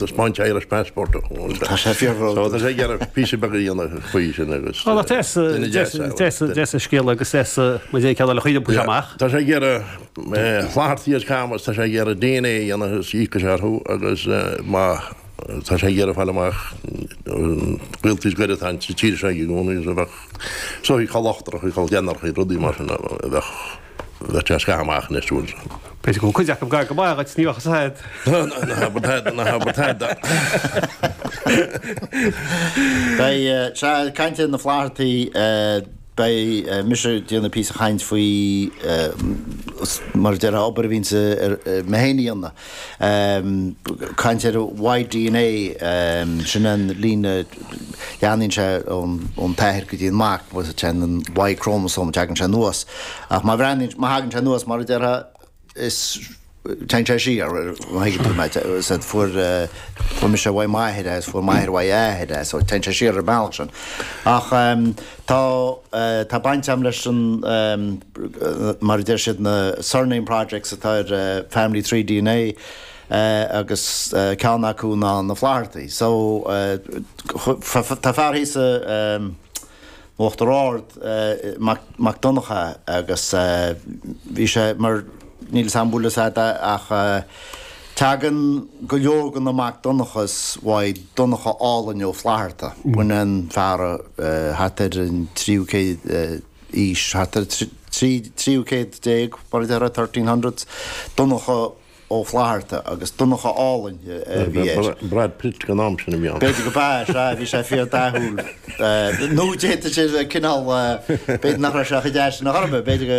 Taispeáint Irish Passport Tá sé fíorbhródúil. So tá sé ag iarraidh píosa beag a dhéanamh faoi sin agus Ó, deas, duine deas é. deas, deas an scéal agus deas má dhéan ceann eile chuile puis amach. Tá sé ag iarraidh Flathartaí as Camas, tá sé ag iarraidh DNA a dhéanamh agus íocfaidh sé orthu agus má tá sé ag iarraidh fáil amach gaoltaí is gaire atá sa tír seo aige i gcónaí agus a bheadh soithí col ochtarach, col deichnearach, rudaí mar sin a bheadh Bheadh sé scaitheamh amach anois uair. B'fhéidir go bhfuil cuid acu gar go maith dhuit, ní bheadh fhios a'd. Ná habair tada, ná habair tada. Beidh, sea, caint ar na Flathartaí, beidh mise ag déanamh píosa chaint faoi, mar a déarfá, obair a bhíonns mé féin a dhéanamh. Caint ar Y-DNA, sin an líne, leathnaíonn sé ón t-athair go dtí an mac, téann an Y-chromosome, teagann sé anuas. Ach má bhreathnaíonn, má thagann sé anuas, mar a déarfá, is téann sé siar, má thuigeann tú mé, said fuair, fuair mise uaidh m'athair é, is fuair m'athair uaidh a athair é, so téann sé siar ar an mbealach sin. Ach tá, tá baint agam leis an, mar a deir siad, na surname projects atá ar Family Tree DNA, agus ceann acu ná na Flathartaí. So, tá fear thíos i, Uachtar Ard, Mac Donncha agus bhí sé mar, níl 'fhios a'm an bhfuil fhios a'd ach tagann go leor de na Mac Donnchas uaidh Donncha Álainn Ó Flatharta, b'in an fear thart ar an tríú céad aois, thart ar tríú céad déag mar a déarfá, 1300s, Donncha Ó Flatharta agus Donncha Álainn a bhí air. Brad Pitt den am sin a bhí ann. B'fhéidir go b'ea, sea, bhí sé fíor dathúil. Nó d'fhéadfadh sé bheith cineál, b'fhéidir nach raibh sé chomh deas sin ar chor ar bith, b'fhéidir go,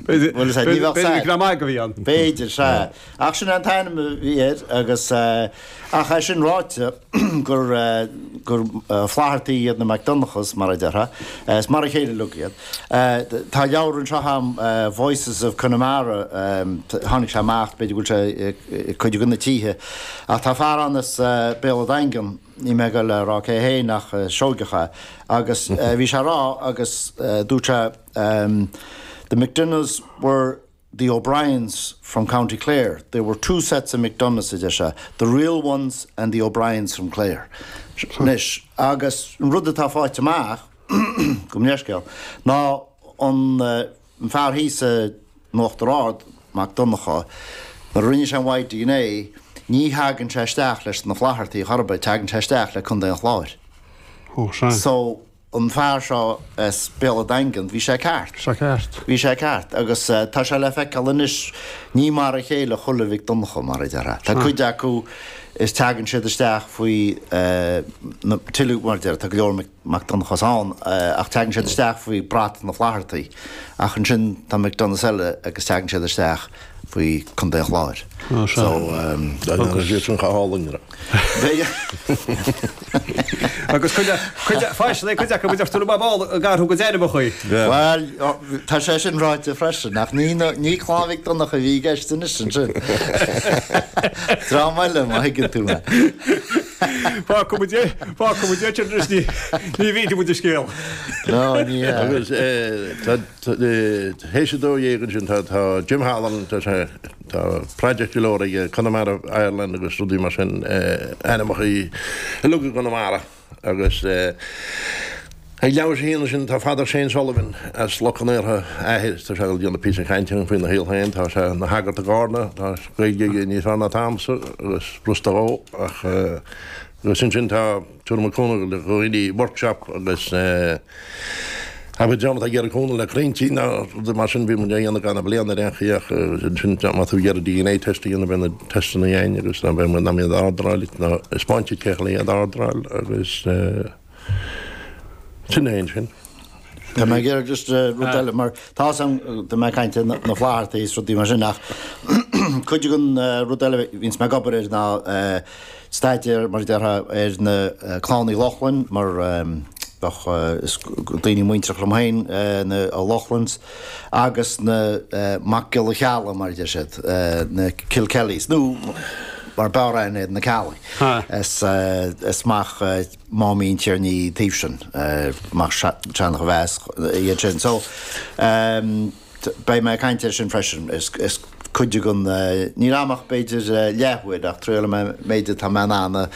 bhfuil fhios a'd, ní bheadh B'fhéidir gur maith a bhí ann. B'fhéidir, sea. Ach sin é an t-ainm a bhí air agus, ach é sin ráite, gur, gur Flathartaí iad na McDonachas, mar a déarfá, is mar a chéile uilig iad. Tá leabhar anseo agam, Voices of Connemara, tháinig sé amach, b'fhéidir go bhfuil sé i cuid de na tithe, ach tá fear ann as Béal an Daingin, níl mé ag dul a rá cé hé ach Seoigeach é, agus bhí sé ag rá agus dúirt sé The McDonoughs were the O'Briens from County Clare. There were two sets of McDonoughs, a deir sé, the real ones and the O'Briens from Clare. Anois, agus an rud atá faighte amach, gabh mo leithscéal, ná an fear thíos in Uachtar Ard, Mac Donncha, nuair a rinne sé an Y-DNA, ní thagann sé isteach leis na Flathartaí chor ar bith, tagann sé isteach le Contae an Chláir. Ó, sea. So, an fear seo as Béal an Daingin, bhí sé ceart. Sé ceart. Bhí sé ceart agus tá sé le feiceáil anois, ní mar a chéile chuile Mhic Donncha, mar a déarfá. Tá cuid acu is teagann siad isteach faoi na, tuilleadh, mar a déarfá, tá go leor Mac Donnchas ann ach teagann siad isteach faoi brat na Flathartaí ach ansin tá McDonoughs eile agus teagann siad isteach faoi Contae an Chláir. So. Agus iad sin chomh hálainn. Agus cuid, cuid, faisean é cuid acu a deir tú mar ball ag athrú go dearfachaí. Bhuel, tá sé sin ráite freisin, ach ní, ní Clann Mhic Donncha a bhí i gceist anois ansin. Dream eile, má thuigeann tú mé. Fágfaidh muid é, fágfaidh muid é sin anois, ní, ní mhínfidh muid an scéal. No, ní hea. Agus tá, théis 12 ansin tá, tá Jim Halloran, tá sé, Tá project go leor aige, Connemara Ireland agus rudaí mar sin, ainmneacha uilig i gConamara agus ag leathuair tar éis a haon ansin tá Father Shane Sullivan as Loch an Iartha, athair, tá sé ag déanamh píosa cainte faoina shaol féin, tá sé ina shagart i gCarna, tá Gaeilge aige níos fearr ná atá agamsa agus b'fhurasta dhó ach agus ansin tá Tabharfaidh muid cúnamh do dhaoine workshop agus abair dream atá ag iarraidh cúnamh le crainnte nó rudaí mar sin bhí muid á dhéanamh gach bliain ar aon chaoi ach ansin má tá tú ag iarraidh DNA test a dhéanamh beidh na testanna againn agus ná beidh muid in ann iad a ordráil nó 'spáint duit cé chun iad a ordráil agus sin é ansin. Tá mé ag iarraidh just rud eile mar tá 's agam tá mé ag caint ar na Flathartaí is rudaí mar sin ach cuid den rud eile a bhíonns mé ag obair air ná staidéar, mar a déarfá, ar na Clann Uí Lochlainn, mar bheadh, is daoine muintreach liom féin, na O'Loughlin's, agus na Mac Giolla Cheallaigh, mar a deir siad, na Kilkellys, nó mar b'fhearr aithne iad, na Ceallaigh. Is mac Máimín an Tiarna an taobh sin, mac Seancha Mheas iad sin. So, beidh mé ag caint air sin freisin. Is. cuid den, níl a'm ach b'fhéidir leathuair ach triailfidh mé an méid atá mé in ann a.